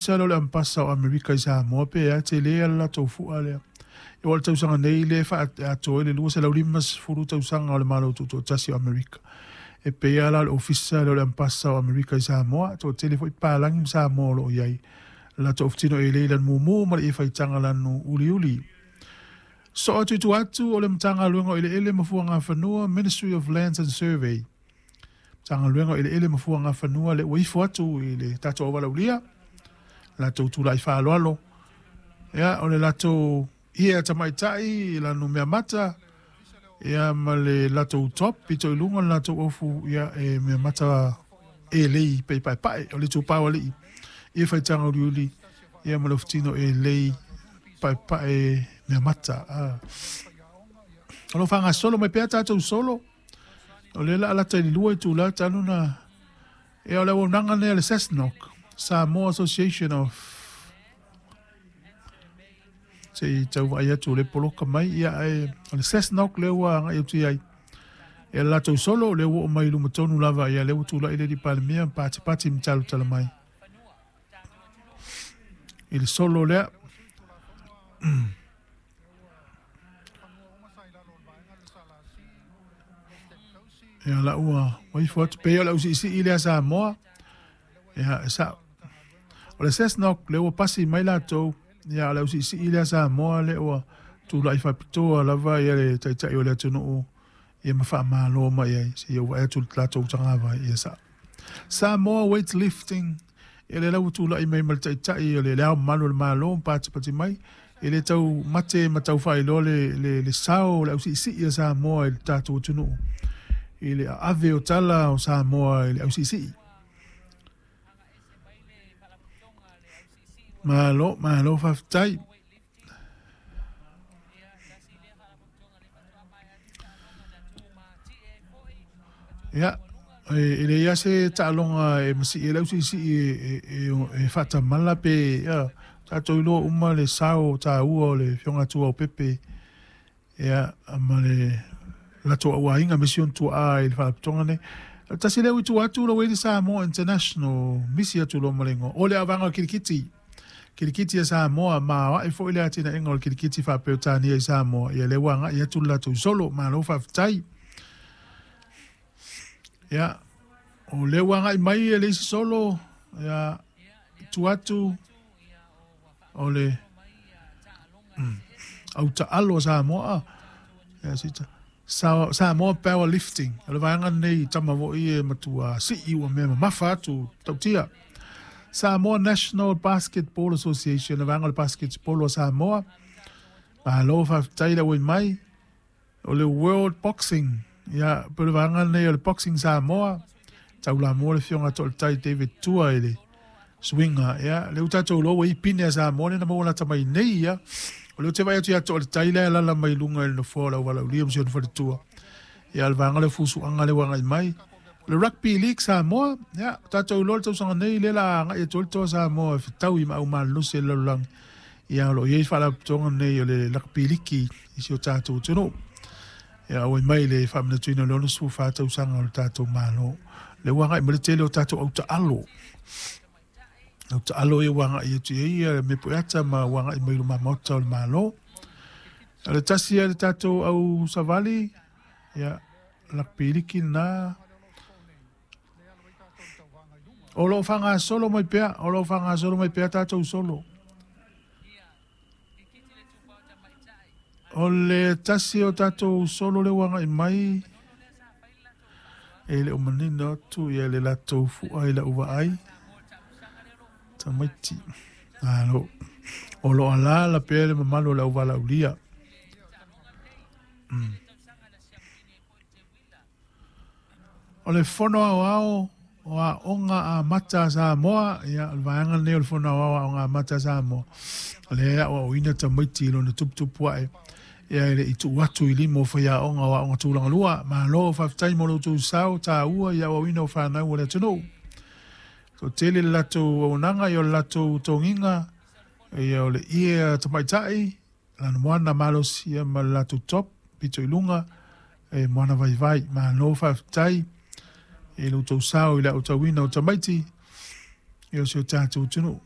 Ofisa lea o le Ambasa o Amerika i Samoa pe a tele le latou fua lea. E o le tausaga nei le atoa ai le 250 tausaga o le Malo Tutoatasi o Amerika. E pei la le Ofisa lea o le Ambasa o Amerika i Samoa, toatele foi palagi ma Samoa o lo o i ai. Latou ofutino e lei lanu mumu ma le ie faitaga lanu uliuli. So atu i atu o le Matagaluega o Eleele ma Fuagafanua, Ministry of Lands and Survey. Matagaluega o Eleele ma Fuagafanua le ua ifo atu i le tatou auvalaulia, latou tulai faaaloalo. Ia, o le latou ie tamaitai lanu mea mata, ia ma le latou top pito i luga le latou ofu, ia e mea mata e lei pe paepae o le itupa o alii ie faitaga uliuli, ia ma le ofutino e lei paepae mea mata. O lo faagasolo mai pea tatou solo, o le la alata i le 2 itula talu na, ia o le auaunaga lea le SASNOC, Samoa Association of se i tau vaai atu le poloka mai, ia e o le SASNOC lea ua agai atu i ai. Ia le latou solo lea ua oo mai i luma tonu lava, ia lea ua tulai le Palemia patipati ma talutala mai i le solo lea. Ia la ua waifo atu pe o le ausiisii lea Samoa. Ia sa o le SASNOC lea ua pasi mai latou, ia o le ausiisii lea Samoa lea ua tulai faapitoa lava ia le taitai o le atunuu, ia ma faamalo mai ai se ia ua atu le latou tagava ia sa. Samoa Weightlifting, ia le lau tulai mai ma le taitai o le ao mamalu o le Malo patipati mai, e le tau mate ma tau faailoa le sao o le ausiisii a Samoa i le tatou atunuu, i le ave o tala o Samoa i le ausiisii. Malo, malo faafetai. Ia, e le ia se taaloga e masi e le ausiisii e faatamala pe, ia, tatou iloa uma le sao taua o le Afioga Tua o Pepe, ia, ma le latou auaiga me si ona tuaa i le faalapotopotoga nei. Tasi lea ua itu atu la ua i le Samoa International, misi atu loa ma le igoa. O le avaga o le kirikiti, kirikiti a Samoa, ma ae foi le atinaega o le kirikiti faa-Peretania i Samoa, ia lea ua agai atu le latou solo, malo faafetai. Ia, o lea ua agai mai e le isi solo, ia, tu atu o le au taalo a Samoa, ia sita Samoa Powerlifting, o le vaega nei tama foi e matua sii ua mea mamafa atu tautia. Samoa National Basketball Association, le vaega o le basketball o Samoa, malo faafetai le auai mai. O le World Boxing, ia, pe o le vaega nei o le Boxing Samoa, taulamua le Afioga Toaletai David Tua i le suiga, ia, le ua tatou iloa ua i pine a Samoa lena maua lata mai nei, ia. O le ua te vaai atu ia Toaletai lea lala mai luga i le nofoa o le auvalaulia ma si ona faletua. Ia, le vaega le fusuaga le ua agai mai. O le Rugby League Samoa, ia, tatou iloa le tausaga nei lea la agai atu ai le toa Samoa e fetaui ma au malolosi e le lalolagi. Ia, o lo o i ai faalapotopotoga nei o le Rugby League i si o tatou atunuu. Ia, auai mai le faamanatuina o le 64 tausaga o le tatou Malo. Le ua agai mai le tele o tatou autaalo. Autaalo ia ua agai atu i ai ia me pueata ma ua agai mai luma maota o le Malo. O le tasi ia le tatou au savali, ia, Rugby League na. O lo o faagasolo mai pea, o lo o faagasolo mai pea tatou solo. O le tasi o tatou solo le ua agai mai, e le o manino atu ia le latou fua i lau vaai. Tamaiti. Alo. O lo alala pea le mamalu o le auvalaulia. O le fono aoao o aoga amata a Samoa, ia, o le vaega lenei o le fono aoao o aoga amata a Samoa, o lea e aoaoina tamaiti i lona tuputupu ae, ia e le i tuu atu i lima o faiaoga o aoga tulaga lua. Malo faafetai mo lo outou sao taua i aoaoina o fanau o le atunuu. Toatele le latou auaunaga, ia o le latou togiga, ia o le ie tamaitai, lana moana malosi ia ma le latou top, pito i luga, e moana vaivai. Malo faafetai e lo outou sao i le aotauina o tamaiti, ia o si o tatou atunuu.